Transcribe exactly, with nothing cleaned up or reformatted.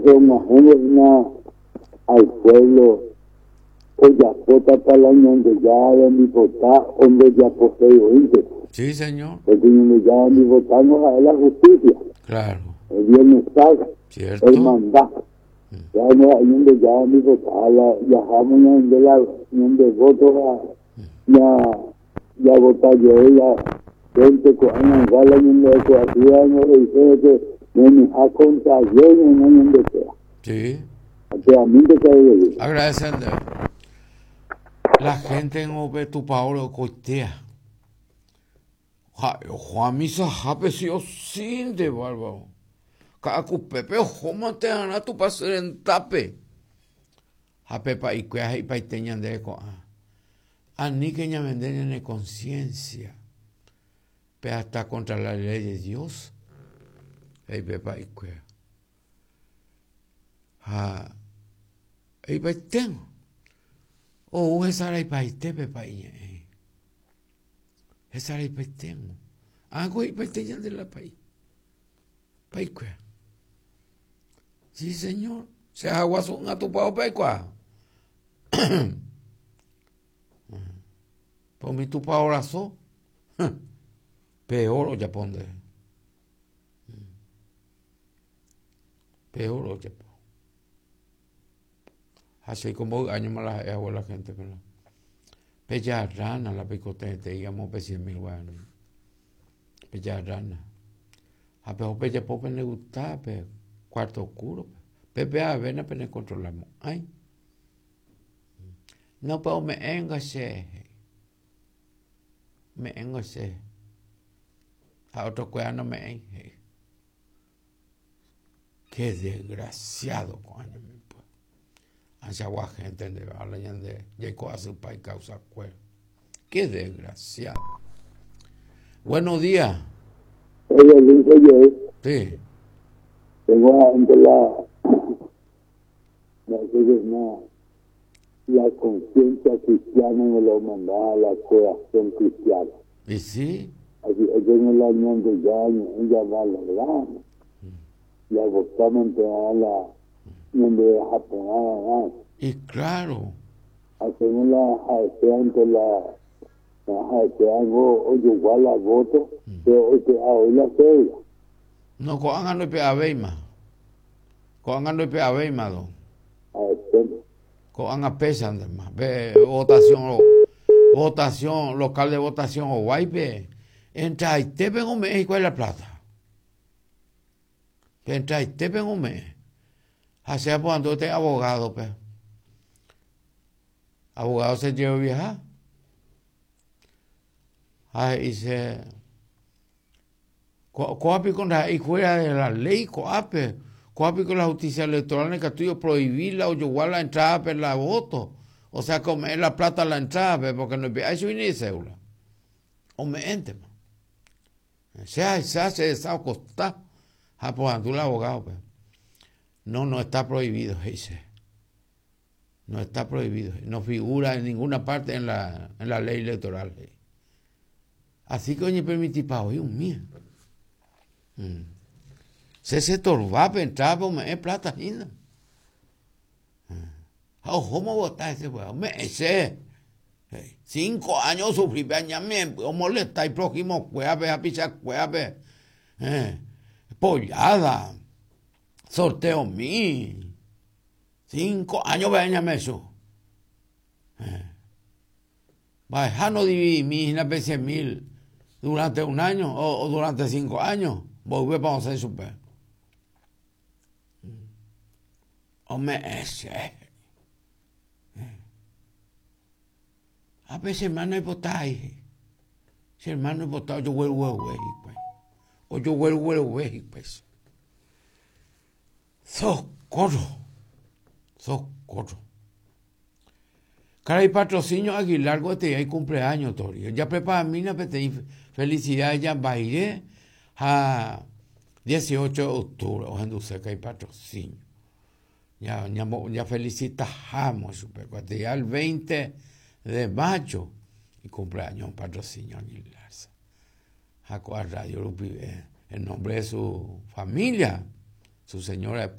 Og̃uahẽvo al pueblo ojapótapa la Ñandejára rembipota o ndojaposéivoínte. Sí, señor. Porque Ñandejára rembipota no ha'e la justicia. Claro. El bienestar, Cierto. el mandato. Ya no ha'e Ñandejára rembipota la jahámo ñande la ñande voto ya ya vota jey la gente ko'ág̃a la ñande ecuación he'ise que ñañeha contra ley no ñandekuéra. Sí. A mí te cae Agradecen. La gente en upe tupão okoitea. Ha'e misa hápe sí o sí de bárbaro. Ka'akupépe ohómante arã Tupãsy rendápe. Ha pe pa'ikuéra he'ipaite ñandéve ko'ã. Aníke ñavende ñane conciencia. Pe hasta contra la ley de Dios. He'i pe pa'ikuéra. Ha he'ipaiténgo. Ou hesaraipaite pa'i ñe'ẽ. Hesaraipaiténgo. Ág̃a he'ipaite ñande la pa'i. Pa'ikuéra. Sí, señor. Che ahaguasu'ỹva tupãópe aikuaa. Pe umi tupão raso. Peor ojapo nde. Peor ojapo. Ha che mboy añoma la ha'e hague la gente pero pejarrána la peikotevẽtei amo pe cien mil guarani. Pejarrána. Ha peho pejapo pendegusta pe cuarto oscuro. Pepe avena penecontrolamo'ãi. No pe ome'ẽngo che. Ome'ẽngo che. Ha otrokuéra nome'ẽi he'i. Qué desgraciado ko'ã ñemimby. Ãichagua gente ndéve la ñande jaiko asypa icausakuéra. Qué desgraciado. Buenos días. Oye, Luis, oye, Sí. tengo ante la, no sé qué, no, la conciencia cristiana me lo mandaba la corazón cristiano. ¿Y sí? Así, ellos no la Ñandejára ella valoramos. Y agotamos a la donde japonada Y claro. Hacemos la ante la algo o igual la voto, pero hoy que hoy la cédula. No, ko'ág̃a ndoipe'avéima. Ko'ág̃a ndoipe'avéima do. Ko'ág̃a péchantema. Pe votación, votación, local de votación oguáipe. Entraitépe ome'ẽ hikuái la plata. Pe entraitépe ome'ẽ. Ha che aporandu peteĩ abogado-pe. Abogado se jeroviaha. Ha he'i che ko'ápiko ndaha'éi fuera de la ley ko'ápe. Ko'ápiko la justicia electoral ndaikatúi oprohibir la ojogua la entrada la voto. O sea que ome'ẽ la plata la entrada porque ndoipe'ái chugui ni cédula. Ome'ẽntema. Che ahecha che resa okosta ha aporandu la abogado-pe. No, no está prohibido, he'i che. No está prohibido. No figura en ninguna parte en la, en la ley electoral. He'i. Así que oñepermitipa voi umía. Mm. Che chetorvápe entrada ome'ẽ plata hína. Ha ohóma ovota hese ome'ẽ che. Cinco años osufrí pe añamemby omolesta iprojimokuérape hapichakuérape. Eh, pollada, sorteomi. Cinco años pe añamechu. Eh. Mba'eha no dividimi hína pe cien mil durante un año o, o durante cinco años. Mboyvépa osẽ chupe. Ome'ẽ che. Ha pe che hermano oipotái. Che hermano oipota ojoguerugueruve hikuái. Ojoguerugueruve hikuái. Socorro. Socorro. Karai Patrocinio Aguilar gueteri cumpleaños tori. Ya preparamína peteĩ felicidades jambaire ha dieciocho de octubre ohenduse karai Patrocinio. Ya, ya, ya felicitajamos chupe. Ya el veinte de mayo y cumpleaños Patrocinio Aguilar. Ha ko'ã radio rupive en nombre de su familia, su señora